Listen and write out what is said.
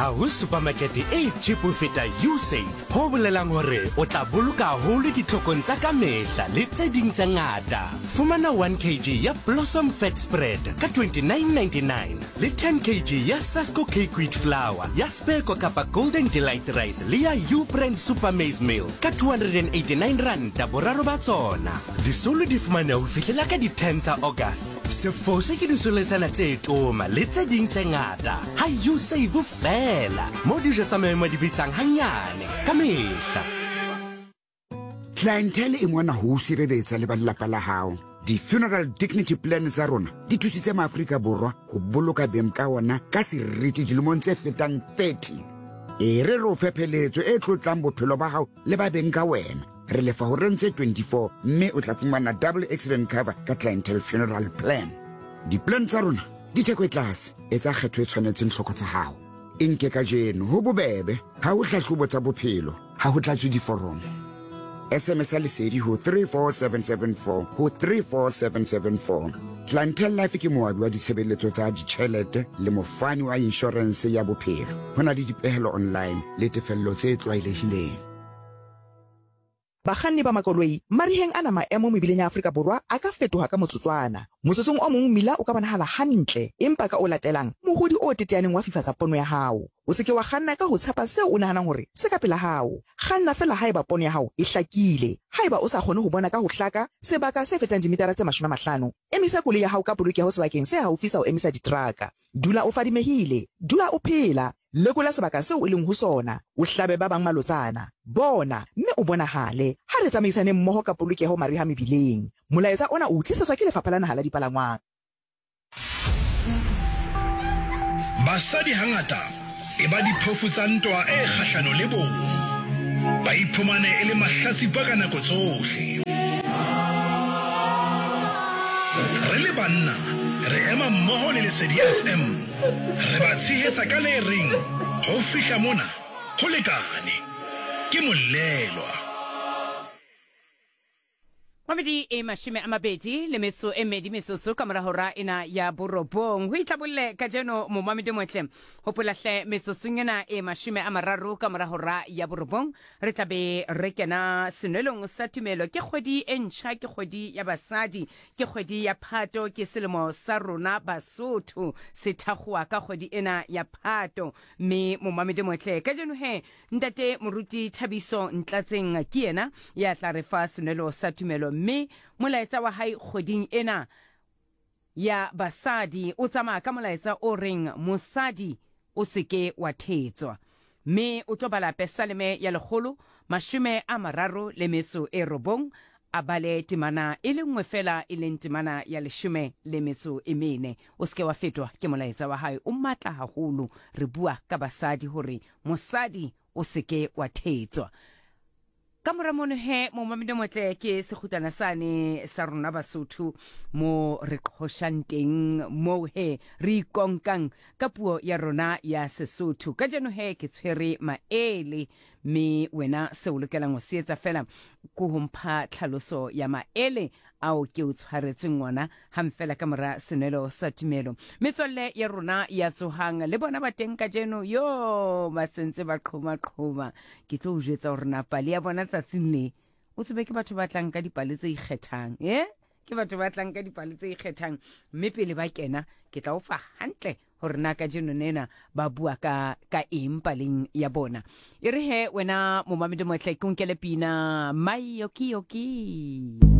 Ha ho supermarket e cheap ho feta Usave, ho bolelang hore o tla boloka haholo ditlhokong tsa ka mehla le tse ding tse ngata. Fumana 1 kg ya Blossom Fat Spread ka 29.99 le 10 kg ya Sasko Cake Wheat Flour ya Speko kapa Golden Delight Rice le ya U-Brand Super Maize Meal ka 289 ranta boraro ba tsona. Disolo di fumaneha ho fihlela ka di 10 tsa August. Se fose ke disoletsana tse toma le tse ding tse ngata ha Usave feela, moo dijo tsa maemo di bitsang hanyane ka mehla. Clientele e mona ho o sireletsa le ba lelapa la hao. Di-funeral dignity plan tsa rona di thusitse maAfrika Borwa ho boloka beng ka ona ka seriti dilemong tse fetang 30. E re re o fe pheletso e tlotlang bophelo ba hao le ba beng ka wena. Re lefa horeng tse 24 mme o tla fumana double accident cover ka Clientele Funeral Plan. Di-plan tsa rona di theko e tlase, etsa kgetho e tshwanetseng tlhoko tsa hao. E nke kajeno, ho bobebe, ha ho hlahlobo tsa bophelo, ha ho tlatswe diforomo. SMS ya lesedi ho 34774 ho 34774. Clientele Life ke moabi wa ditshebeletso tsa ditjhelete le mofani wa inshorense ya bophelo. Ho na le dipehelo online le tefello tse tlwaelehileng. Bakganni ba makoloi, mariheng ana maemo mebileng ya Afrika Borwa a ka fetoha ka motsotswana. Motsotsong o mong mmila o ka bonahala hantle, empa ka o latelang, mohodi o teteaneng wa fifatsa pono ya hao. O se ke wa kganna ka ho tshepa seo o nahanang hore se ka pela hao. Kganna feela haeba pono ya hao e hlakile. Haeba o sa kgone ho bona ka ho hlaka sebaka se fetang dimitara tse 50, emisa koloi ya hao ka polokeho sebakeng se haufi sa ho emisa diteraka. Dula o fadimehile. Dula o phela. Lekola sebaka seo o leng ho sona, o hlabe ba bang malotsana. Bona, mme o bonahale. Ha re tsamaisaneng mmoho ka polokeho mariha mebileng. Molaetsa ona o u tlisetswa ke Lefapha la Naha la Dipalangwang. Basadi hangata e ba diphofu tsa ntwa e kgahlano le bong. Ba iphumane e le mahlatsipa ka nako tsohle. Re le banna re ema mmoho le Lesedi FM. Re ba tshehetsa ka le reng ho fihla mona ho lekane. Ke Molelwa. Mamedi e mashome a mabedi le metso e mmedi metsotso ka mora hora ena ya borobong. Ho itlabolle kajeno momamedi motle. Hopola hle metsotsong ena e mashome a mararo ka mora hora ya borobong re tla be re kena senwelong sa tumelo. Ke kgwedi e ntjha, ke kgwedi ya basadi, Ke kgwedi ya Phato, ke selemo sa rona Basotho se thakgowa ka kgwedi ena ya Phato. Mme momamedi motle, kajeno he, Ntate Moruti Thabiso Ntlatseng ke yena ya tla re fa senwelo sa tumelo, mme molaetsa wa hae kgweding ena ya basadi o tsamaya ka molaetsa o reng Mosadi O se ke wa thetswa. Mme o tlo bala Pesaleme ya lekgolo mashome a mararo le metso e robong, a bale temana e le nngwe feela, e leng temana ya leshome le metso e mene. O se ke wa fetwa ke molaetsa wa hae, o matla haholo. Re bua ka basadi, hore mosadi o se ke wa thetswa. Ka mora mono he, momamedi motle, ke sekgutlana sane sa rona Basotho mo re qhoshang teng, moo he re ikonkang ka puo ya rona ya Sesotho. Kajeno he ke tshwere maele, mme wena seo o lokelang ho se etsa fela ke ho mpha tlhaloso ya maele ao ke o tshwaretseng ona hang fela ka mora senwelo sa tumelo. Metswalle ya rona ya tsohang le bona ba teng kajeno, yo ba sentse ba qhoma-qhoma. Ke tlo o jwetsa hore na pale ya bona tsatsing le, o tsebe ke batho ba tlang ka dipale tse ikgethang, eh? Ke batho ba tlang ka dipale tse ikgethang, mme pele ba kena ke tla o fa hantle hore na kajeno nena ba bua ka ka eng paleng ya bona. E re he wena momamedi motle, ke o nkele pina Mayokiyoki.